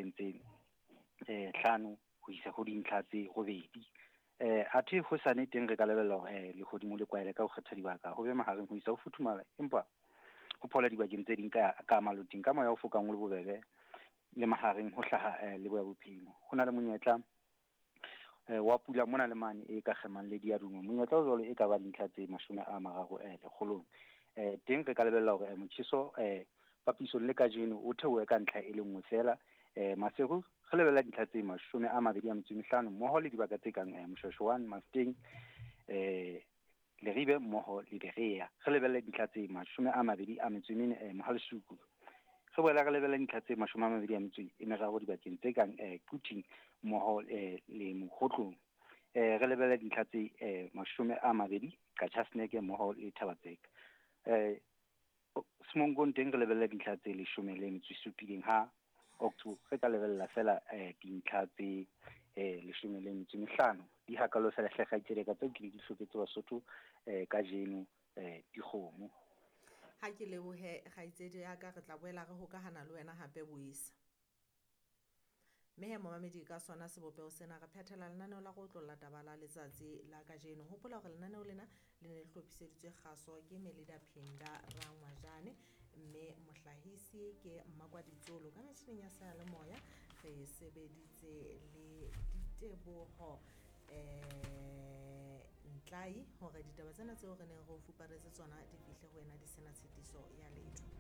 dintlheng tse 5 ho isa ho dintlha tse 8. Athe hosane teng re ka lebella hore lehodimo le kwaele ka ho kgetha dibaka, ho be mahareng ho isa ho futhumala, empa ho phola dibakeng tse ding ka maloting ka moya o fokang o le bobebe le mahareng ho hlaha leboya bophirima. Ho na le monyetla wa pula mona le mane e ka kgemang le diaduma. Monyetla o jwalo e ka ba dintlha tse 30 lekgolong. Teng re ka lebella hore motjheso papisong le kajeno o theohe ka ntlha e le nngwe feela. Maseru re lebella dintlha tse 25 mmoho le dibaka tse kang Moshweshwane, Mafeteng, Leribe mmoho le Berea. Re lebelle dintlha tse 24 Mohalesuku. Re boela re lebelle dintlha tse 23 dibakeng tse kang Quthing mmoho le Mokhotlong. Re lebelle dintlha tse 20 Qachaseneke mmoho le Thabatseka. Semonkong teng re lebelle dintlha tse 17 ha Octo re ka lebella fela dintlha tse 15. Di hakalo fela hle kgaitsedi ka tseo ke di hloketse Basotho kajeno dikgomo. Ha ke lebohe kgaitsedi ya ka, re tla boela re hokahana le wena hape boisa. Mme he momamedi, ka sona sebopeho sena re phethela lenaneo la go otlolla taba la letsatsi la kajeno. Hopola hore lenaneo lena le ne le hlophiseditswe kgaso ke Melida Phinda Rangwajane, mme mohlahisi ke Mmakwa Ditsolo. Ka metjhining ya seyalemoya re sebeditse le Diteboho Ntlai hore ditaba tsena tseo re neng re o fuparetse tsona di fihle ho wena di sena tshitiso ya letho.